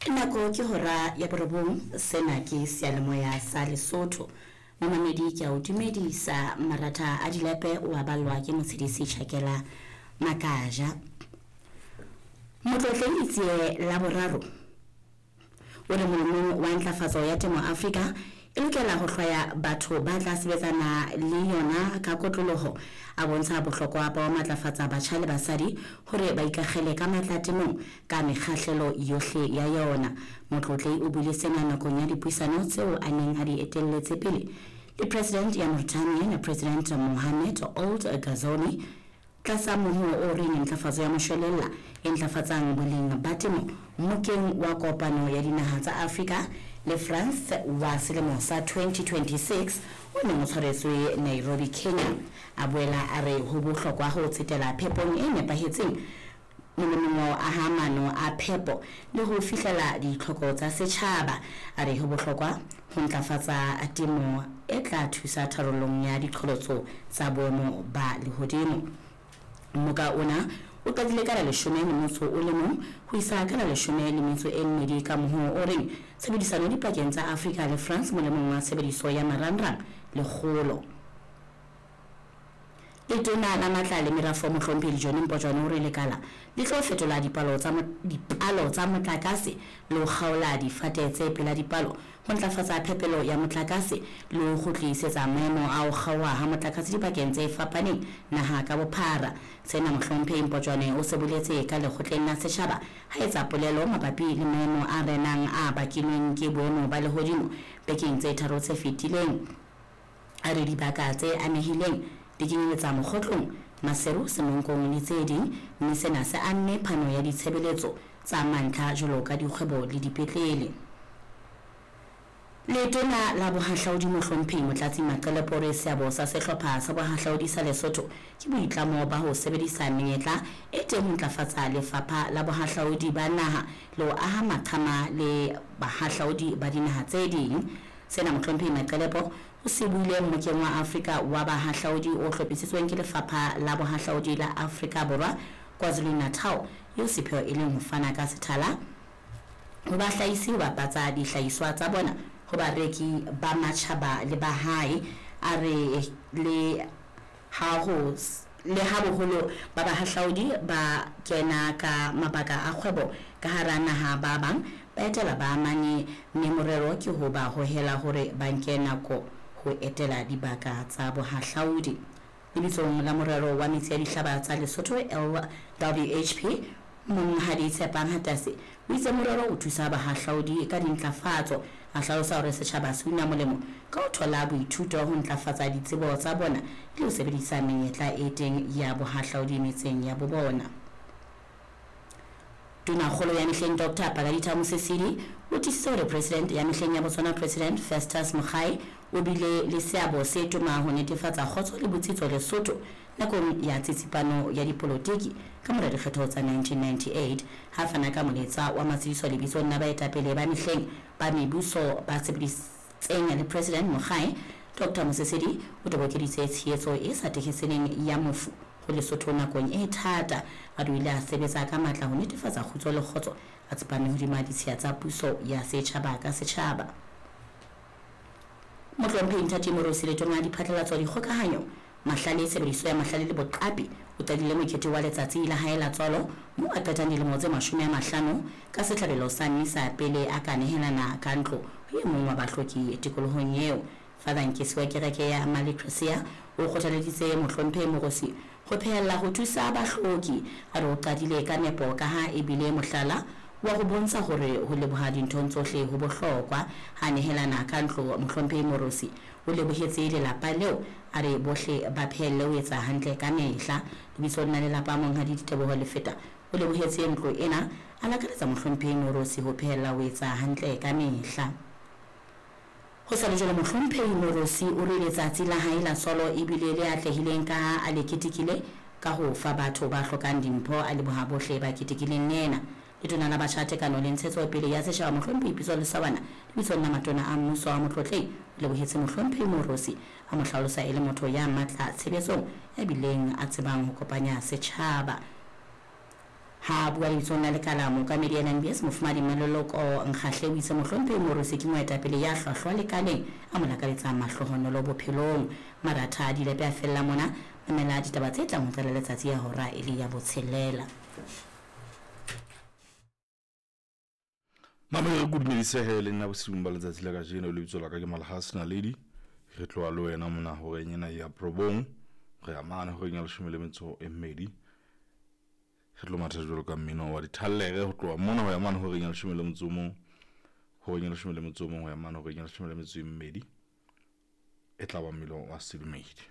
Nako ke hora ya borobong, sena ke seyalemoya sa Lesotho. Momamedi ke a o dumedisa, maratha a dilepe o a ballwa ke Motshedisi Tjhakela Makaja. Motlotleng Letsie la boraro o re molemong wa ntlafatso ya temo Afrika e lokela ho hlwaya batho ba tla sebetsana le yona ka kotloloho. A bontsha bohlokwa ba ho matlafatsa batjha le basadi hore ba ikakgele ka matla temong ka mekgahlelo yohle ya yona. Motlotlei o buile sena nakong ya dipuisano tseo a neng a di etelletse pele le President ya Mauritania, President Mohamed Ould Ghazouani, tlasa mohoo o reng ntlafatso ya moshwelella e ntlafatsang boleng ba temo mmokeng wa kopano ya dinaha tsa Afrika le France wa selemo sa 2026 o neng o tshwaretswe Nairobi, Kenya. A boela a re ho bohlokwa ho tsetela phepong e nepahetseng molemong wa ho aha maano a phepo le ho fihlela ditlhoko tsa setjhaba. A re ho bohlokwa ho ntlafatsa temo e tla thusa tharollong ya diqholotso tsa boemo ba lehodimo. Mmoka ona o qadile ka la leshome le motso o le mong ho isa ka la leshome le metso e mmedi ka mohoo o reng Tshebedisano dipakeng tsa Afrika le France molemong wa tshebediso ya marangrang le kgolo. Letona la Matla le Merafo Mohlomphehi John Mpotjwane o re lekala le tlo fetola dipalo tsa dipalo tsa motlakase le ho kgaola difate tse pela dipalo ho ntlafatsa phepelo ya motlakase le ho kgutlisetsa maemo a ho kgaoha ha motlakase dibakeng tse fapaneng naha ka bophara. Sena Mohlomphehi Mpotjwane o se boletse ka lekgotleng la setjhaba ha etsa polelo mabapi le maemo a renang a bakilweng ke boemo ba lehodimo bekeng tse tharo tse fetileng. A re dibaka tse amehileng di kenyeletsa Mokgotlong, Maseru, Semonkong le tse ding mme sena se amme phano ya ditshebeletso tsa mantlha jwalo ka dikgwebo le dipetlele. Letona la Bohahlaudi Mohlomphehi Motlatsi Maqelepo o re seabo sa sehlopha sa bohahlaudi sa Lesotho ke boitlamo ba ho sebedisa menyetla e teng ho ntlafatsa lefapha la bohahlaudi ba naha le ho aha maqhama le bahahlaudi ba dinaha tse ding. Sena Mohlomphehi Maqelepo o se buile Mmokeng wa Afrika wa Bahahlaudi o hlophisitsweng ke Lefapha la Bohahlaudi la Afrika Borwa KwaZulu-Natal eo sepheo e leng ho fana ka sethala ho bahlahisi ho bapatsa dihlahiswa tsa bona ho bareki ba matjhaba le ba hae. A re le ha ho le ha boholo ba bahahlaudi ba kena ka mabaka a kgwebo ka hara naha ba bang ba etela baamani mme morero ke ho ba hohela hore ba nke nako ho etela dibaka tsa bohahlaudi. Lebitsong la Morero wa Metsi a Dihlaba tsa Lesotho, LWHP, Monghadi Tshepang Hatase o itse morero o thusa bahahlaudi ka dintlafatso. A hlalosa hore setjhaba se una molemo ka ho thola boithuto ho ntlafatsa ditsebo tsa bona le ho sebedisa menyetla e teng ya bohahlaudi metseng ya bo bona. Tonakgolo ya mehleng Doctor Pakalitha Mosisili o tiisitse hore President ya mehleng ya Botswana President Festus Mogae o bile le seabo se toma ho netefatsa kgotso le botsitso Lesotho nakong ya tsitsipano ya dipolotiki ka mora dikgetho tsa 1998. Ha fana ka molaetsa wa matsediso lebitsong la baetapele ba mehleng ba mebuso ba sebeditseng le President Mogae, Doctor Mosisili o tobokeditse tshehetso e sa tekeseleng ya mofu ho Lesotho nakong e thata. A re o ile a sebetsa ka matla ho netefatsa kgutso le kgotso, a tsepame hodima ditshiya tsa puso ya setjhaba ka setjhaba. Mohlomphehi Nthati Morusi, Letona la Diphatlalatso, Dikgokahanyo, Mahlale, Tshebediso ya Mahlale le Boqapi, o qadile mokete wa letsatsi la hae la tswalo moo a qetang dilemo tse 50 ka sehlabelo sa misa pele a ka nehelana ka ntlo ho e mong wa bahloki tikolohong eo. Father Nkesi wa kereke ya Malecresia o kgothaleditse Mohlomphehi Morusi ho phehella ho thusa bahloki. A re o qadile ka nepo kaha e bile mohlala wa ho bontsha hore ho leboha dinthong tsohle ho bohlokwa. Ha a nehelana ka ntlo, Mohlomphehi Morusi o lebohetse lelapa leo, a re bohle ba phehelle ho etsa hantle ka mehla. Lebitsong la lelapa, Monghadi Diteboho Lefeta o lebohetse ntlo ena, a lakaletsa Mohlomphehi Morusi ho phehella ho etsa hantle ka mehla. Ho sa le jwalo, Mohlomphehi Morusi o re letsatsi la hae la tswalo e bile le atlehileng kaha a le ketekile ka ho fa batho ba hlokang dimpho, a leboha bohle ba ketekileng le yena. Letona la Batjha, Tekano le Ntshetsopele ya Setjhaba Mohlomphehi Pitso Lesawana lebitsong la matona a mmuso a Motlotlehi o lebohetse Mohlomphehi Morusi, a mo hlalosa e le motho ya matla tshebetsong ya bileng a tsebang ho kopanya setjhaba. Ha a bua lebitsong la lekala, mookamedi NMBS, Mofumahadi Mmaloloko Nkgahle o itse Mohlomphehi Moorosi ke moetapele ya hlwahlwa lekaleng, a mo lakaletsa mahlohonolo bophelong. Maratha a dilepe a fella mona, mamela ditaba tse tlang ho qala letsatsi ya hora e le ya botshelela. Mamele re kodumedisehe le nna bosiung ba letsatsi la kajeno. Lebitso la ka ke Malhas Naledi. Re tloha le wena mona horeng ena ya probong re ya mane horeng ya leshome le metso e mmedi. Re tlo matha jwalo ka mmino wa dithallere ho tloha mona ho ya mane horeng ya leshome le motso o mong, horeng ya leshome le motso o mong ho ya mane horeng ya leshome le metso e mmedi. E tla ba mmino wa sedumedi.